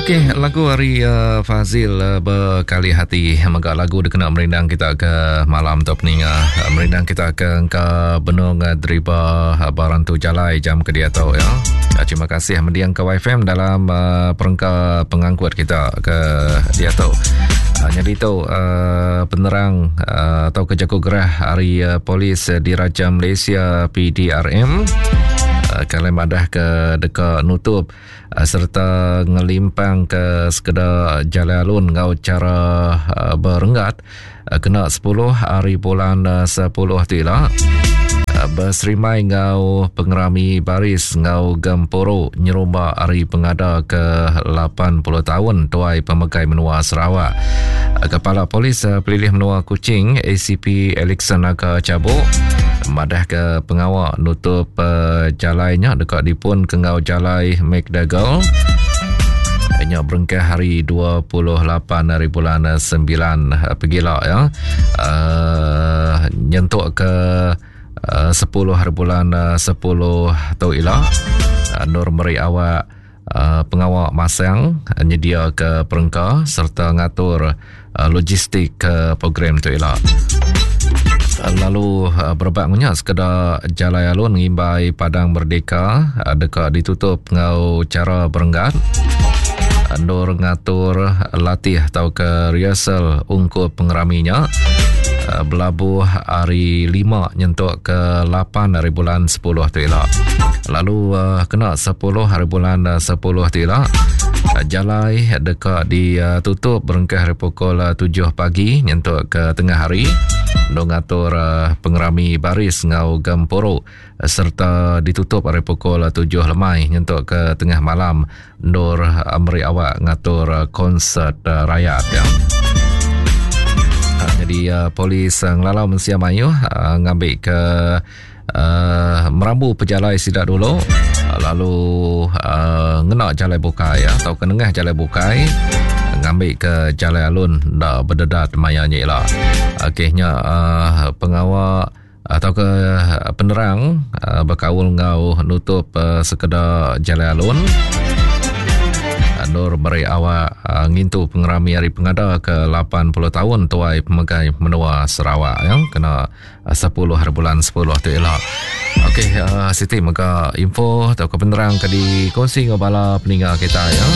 Okey, lagu ari uh, Fazil uh, Bekali Hati mega lagu dikena merindang kita ke malam tu peninga. Uh, merindang kita ke engka benung uh, deriba uh, barang tu jalai jam ke diatu ya. Uh, terima kasih mendiang ke YFM dalam uh, perengka pengangkut kita ke diatu. Uh, jadi tu uh, penerang uh, atau ke jaku gerah ari uh, polis uh, Diraja Malaysia PDRM uh, kalau madah ke deka nutup sereta ngelimpang ke sekeda jalai alun enggau chara berenggat kena 10 hari bulan 10 tu ila beserimai enggau pengerami baris enggau gempuru nyerumba hari pengada ke 80 taun tuai pemegai menua Sarawak. Kepala Polis Pelilih Menua Kuching ACP Alexson Naga Chabok madah ke pengawa nutup uh, jalai nya deka dipun ke enggau jalai McDougall nya berengkah hari 28 hari bulan 9 eh, pegila ya. Uh, nyentuk ke uh, 10 hari bulan 10 tu ila uh, Nur meri awak uh, pengawa masang nyedia ke perengka serta ngatur uh, logistik ke program tu ila. Lalu uh, berebak ngunya sekeda jalai alun ngimbai Padang Merdeka uh, deka ditutup enggau cara berenggat endur ngatur latih atau ke rehearsal ungkup pengeraminya belabuh hari 5 nyentuk ke 8 hari bulan 10 tu ila. Lalu kena 10 hari bulan 10 tu ila jalai deka ditutup berengkah hari pukul 7 pagi nyentuk ke tengah hari untuk ngatur pengerami baris enggau gempuru serta ditutup hari pukul 7 lemai nyentuk ke tengah malam endur meri awak ngatur konsert rayat ya. Jadi polis ngelalau mensia mayuh ngambil ke uh, merambu pejalai sida dulu lalu uh, ngena jalai bukai ya, atau ke nengah jalai bukai ngambil ke jalai alun nda berdedat maya nya ila. Okey nya uh, pengawa atau ke penerang uh, berkaul enggau nutup uh, sekeda jalai alun. Nur beri awak uh, ngintu pengerami hari pengada ke 80 tahun tuai pemegai menua Sarawak ya kena 10 hari bulan 10 tu ila. Okey, uh, Siti mega info atau ke penerang ke dikongsi dengan bala peninga kita ya.